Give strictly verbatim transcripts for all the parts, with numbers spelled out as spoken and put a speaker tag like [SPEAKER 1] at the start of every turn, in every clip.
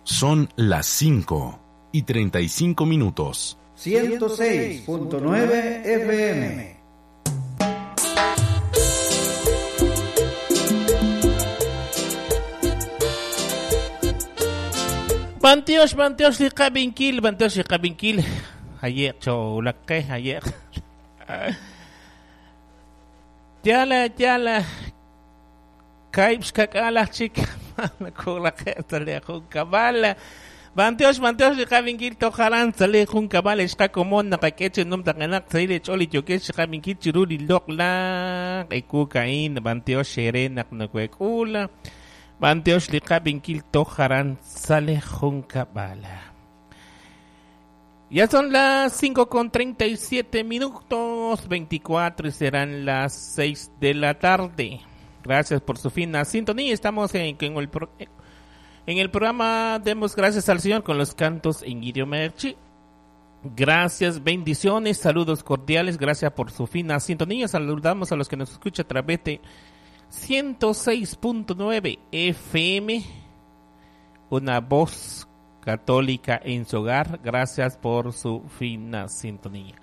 [SPEAKER 1] Son las cinco y treinta y cinco minutos.
[SPEAKER 2] ciento seis punto nueve F M.
[SPEAKER 3] Bantiosh, bantiosh, liqabinkil, bantiosh, liqabinkil. Ayer, choulaqe, ayer. Yala, yala. Kaibs kakala, chica. Kulaqe, sale kabala. Bantiosh, bantiosh, liqabinkil, tojaran, sale jun kabala, ishqakomon, naqakeche, num taqanak, saile, choli, yokesh, liqabinkil, chiruli, loqla, ekukain, bantiosh, sherenak, nakuekula. Bantiosh liqabinkil tojaran sale juncabala. Ya son las cinco con treinta y siete minutos, veinticuatro y serán las seis de la tarde. Gracias por su fina sintonía. Estamos en, en, el, pro, en el programa Demos Gracias al Señor con los cantos en idioma chi. Gracias, bendiciones, saludos cordiales. Gracias por su fina sintonía. Saludamos a los que nos escuchan a través de ciento seis punto nueve F M, una voz católica en su hogar. Gracias por su fina sintonía.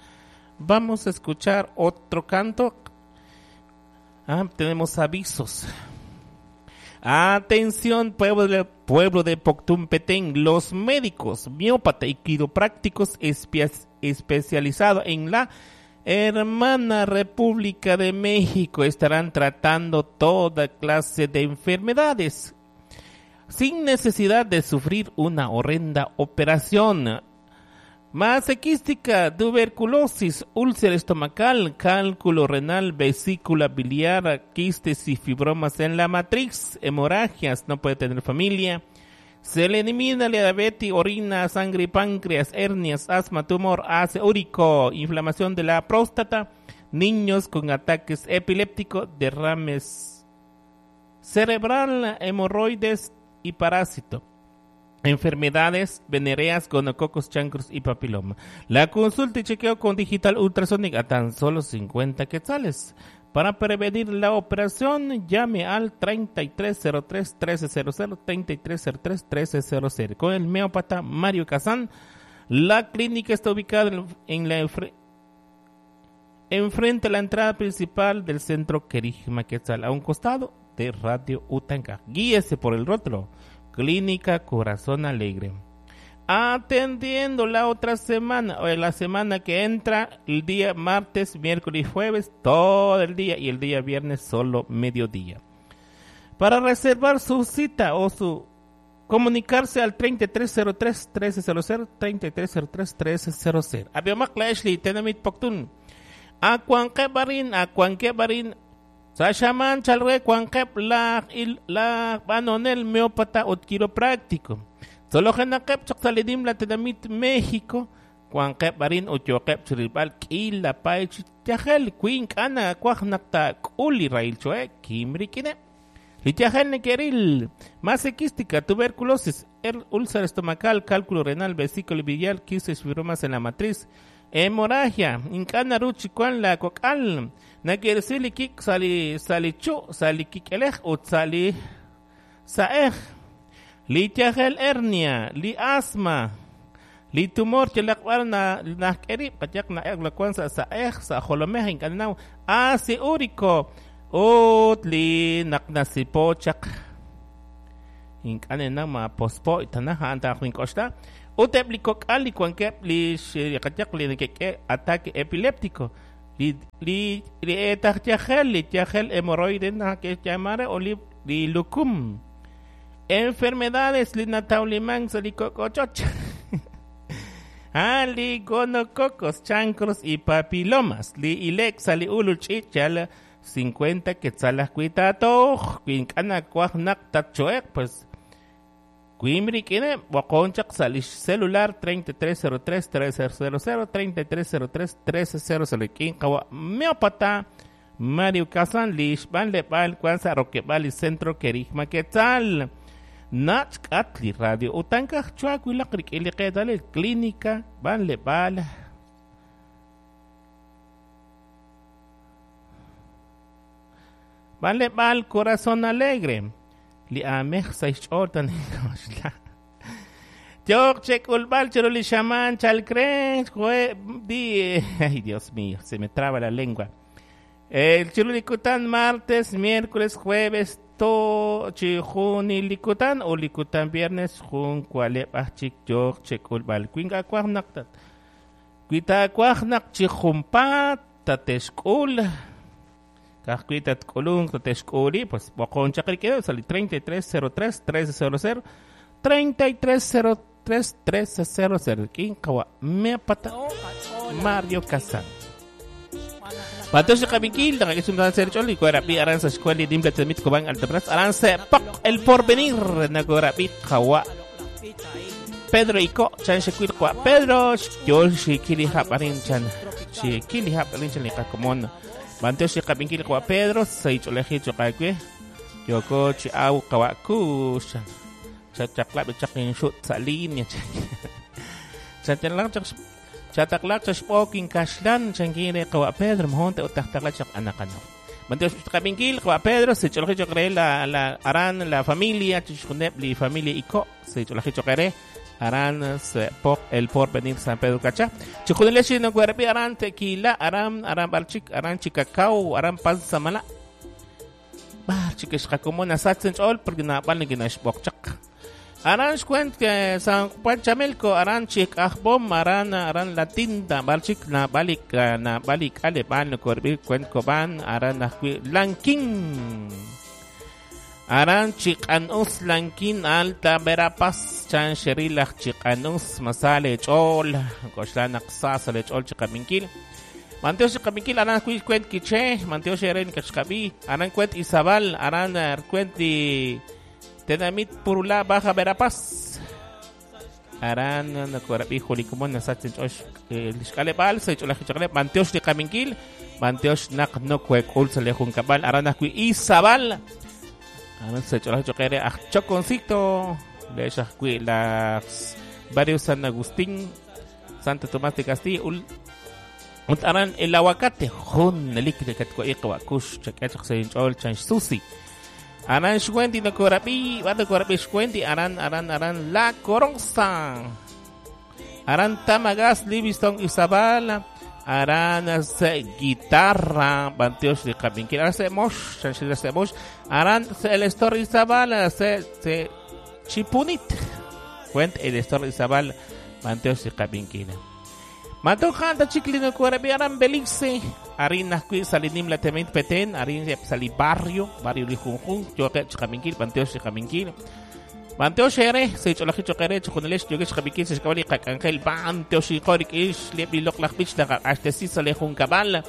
[SPEAKER 3] Vamos a escuchar otro canto. Ah, tenemos avisos. Atención, pueblo de, pueblo de Poctum Petén, los médicos, miópata y quiroprácticos especializados en la Hermana República de México estarán tratando toda clase de enfermedades sin necesidad de sufrir una horrenda operación. Masequística, tuberculosis, úlcera estomacal, cálculo renal, vesícula biliar, quistes y fibromas en la matriz, hemorragias, no puede tener familia. Se le elimina la diabetes, orina, sangre, páncreas, hernias, asma, tumor, ácido úrico, inflamación de la próstata, niños con ataques epilépticos, derrames cerebral, hemorroides y parásito, enfermedades venéreas, gonococos, chancros y papiloma. La consulta y chequeo con digital ultrasónica a tan solo cincuenta quetzales. Para prevenir la operación, llame al treinta y tres cero tres, trece cero cero, treinta y tres cero tres, trece cero cero. Con el meópata Mario Kazán. La clínica está ubicada en la enfre- enfrente a la entrada principal del centro Kerigma Quetzal, a un costado de Radio Utanka. Guíese por el rótulo Clínica Corazón Alegre. Atendiendo la otra semana, o la semana que entra, el día martes, miércoles y jueves, todo el día, y el día viernes solo mediodía. Para reservar su cita o su comunicarse al treinta y tres cero tres, trece cero cero, treinta y tres cero tres, trece cero cero. Abiomak la Ashley, tenamit poktun. Akuankebarin, akuankebarin. Sashaman chalre kuankep la il la banonel meópata ot quiropráctico. Solo genakep chaqsalidim la tenamit México, kuankep barin utyoqep chiribal kila paich yajel kuin kana kuajnakta kuli railchoe kimrikine. Lityajel nekeril, masequística, tuberculosis, er, úlcera estomacal, cálculo renal, vesícula biliar, quistes, fibromas en la matriz, hemorragia, incana ruchi kuan la kokal, nakersili kik sali salichu, sali kikelej ut sali saej. Li tyajel hernia, li asma, li tumor chelakbar na nakeri, payak na eglacuan sa saej, sa jolomej incanau, ácido úrico, ut li naknasipochak. Incanena ma pospo itanaja anta rincosta. Utep li kokal li cuanquep li xiriqatiaq li nekeke ataque epiléptico. Li li li etajtiajel, li tiajel hemorroide na que llamare o li, li lucum. Enfermedades li natauliman salikokochoch. Ah, li gonococos, chancros y papilomas. Li ilexa li uluchichal cincuenta quetzalas cuitato, quincana cuajnak tachoek, pues Cuimriquine, Waconchak, salish celular treinta y tres cero tres, trece cero cero, treinta y tres cero tres, trece cero cero, Quincawa, Meopata, Mario Kazan, Lish, Van Lebal, Cuanza, Roquebal y Centro Kerigma Quetzal. Nach Atli Radio Utanka, Chuacuila, Criquili, Clínica, Van Lebal. Van Lebal, Corazón Alegre. Li amej seis ortan. Yok chekulbal chiruli shaman chalcren jue di. Ay, Dios mío, se me traba la lengua. El chirulikutan martes, miércoles, jueves, to chijunilikutan o likutan viernes jun kualeb achik yok chekulbal kwinga kwajnak kuita kwajnak chijumpat tatexkul kajkuita tkulun tatexkuli pues bokon chakriquedo sali treinta y tres cero tres trece cero cero treinta y tres cero tres trece cero cero kinkawa meapata Mario Kazan. Patosh Kabinkil, Nakakisungan Kuarapi, Aranza Escuela, Dimla Temit Cobán, Altabras, Aranza Poc, El Porvenir, Nagorapi, Kawa, Pedro Iko, Chan Shequil, Kwa, Pedro, Yol Shikili Haparin Chan, Shikili Haparin Chan, Likakomon, Bantosh Kabinkil, Kwa Pedro, Seich Oleji Chokakwe, Yoko Chiau Kawaku, Chachaklap, Chakin Shut, Salin, Chachaklap, Chataklak chashpokin kashlan chankire kawa Pedro mhonte utahtaklak chak anakano. Manteos kabinkil kawa Pedro se cholaji chokre la la aran la familia chishkunep li familia iko se cholaji chokre aran se pok el porvenir San Pedro Cacha. Chujunele no cuerpi aran tequila aran aran barchik aran chicacao aran pansamala. Barchik ishkakomona satsen chol porque na balni ginash bokchak. Aran xcuent que San Juan Chamelco, aran chik ajbom, aran aran la tinta, balchik na balik na balik ale ban corbi cuent coban, aran ajui lanquín. Aran chikanus lanquín alta verapaz, chan sherilaj chikanus masale chol, koslan aqsa sale chol chikaminquil. Manteo chikaminquil aran cuent quiche, manteo sheren kachkabi, aran cuent Izabal, aran cuent di Tenamit Purula Baja Verapaz. Aran nakorabi julikumon nasatzen osh lishkalebal se cholajichakle manteosh de kaminkil manteosh nak no kuekul se le junkabal aran akui Izabal. Aran se cholajichakere achchoconcito le shakui las barrio San Agustín Santo Tomás de Castilla ul aran el aguacate jun elik de katko iqwa kush chakach se chol chan susi. Aran Shwendi no Korapi, Bado Korapi Shwendi, Aran, Aran, Aran, La Coronza, Aran Tamagas, Livingston, Izabal, Aran se guitarra, Banteos de Caminquil, Aran se Mosh, Chanchila se Mosh, Aran se el Estor Izabal, se, se Chipunit, Cuent el Estor Izabal, Banteos de Caminquil. Matojan, Chiclino Korapi, Aran Belice, Arin Asqui, Salinim la Temit Petén, Arin Sali Barrio, Barrio Lijunjun, Yoke Chaminkil, Panteo Chaminkil, Panteo Shere, Seicholaji Chokere, Choconelesh, Yokesh Chaminkil, Sechkabali, Kakangel, Panteo Shikorik, Ish, Lepi Loklach Bich, Ashtesi, Salejun Kabal,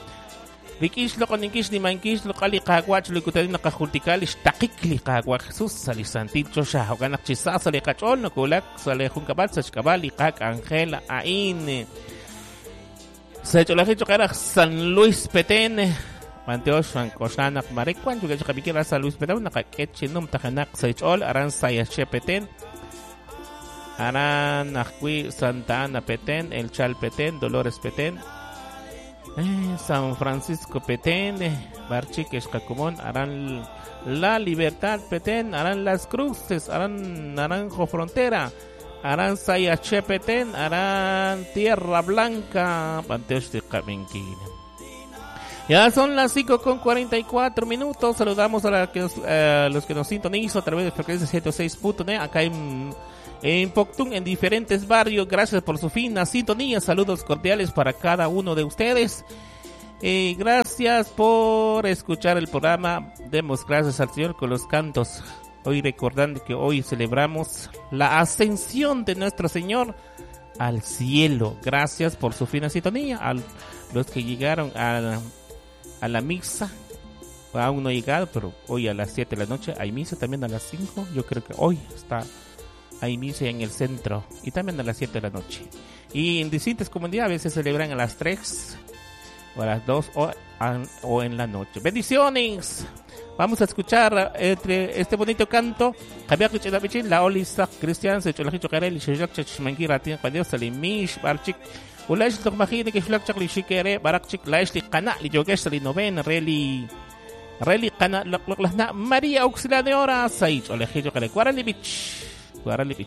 [SPEAKER 3] Rikish, Lokoninkish, Nimankish, Lokali, Kaguach, Lukutalina, Kajultikal, Ishtakikli, Kaguach, Jesús, Salisanticho, Shahoganak, Chisa, Salejachol, Nokulak, Salejun Kabal, Sechkabali, Kak, Angel, Ain. Se cholaji San Luis Petén, Manteosh, Koshanak, Marekuan, Yugachabiquera, San Luis Petén, Nakakechinum, Tajanak, Seichol, Aran Sayache Petén, Aran Ajui, Santa Ana Petén, El Chal Petén, Dolores Petén, eh, San Francisco Petén, Barchique, Xcacumón, Aran La Libertad Petén, Aran Las Cruces, Aran Naranjo Frontera, Aran Sayache Petén, Aran Tierra Blanca, Panteos de Caminquina. Ya son las cinco con cuarenta y cuatro minutos. Saludamos a la que nos, eh, los que nos sintonizan a través de frecuencia ciento seis punto nueve acá en, en Poptún, en diferentes barrios. Gracias por su fina sintonía. Saludos cordiales para cada uno de ustedes. Eh, gracias por escuchar el programa. Demos gracias al Señor con los cantos. Hoy recordando que hoy celebramos la ascensión de nuestro Señor al cielo. Gracias por su fina sintonía. A los que llegaron a la, a la misa, aún no he llegado, pero hoy a las siete de la noche hay misa, también a las cinco. Yo creo que hoy está, hay misa en el centro y también a las siete de la noche. Y en distintas comunidades a veces celebran a las tres o a las dos o, a, o en la noche. ¡Bendiciones! Vamos a escuchar entre este bonito canto. La Olisa Cristian se María Auxiliadora María.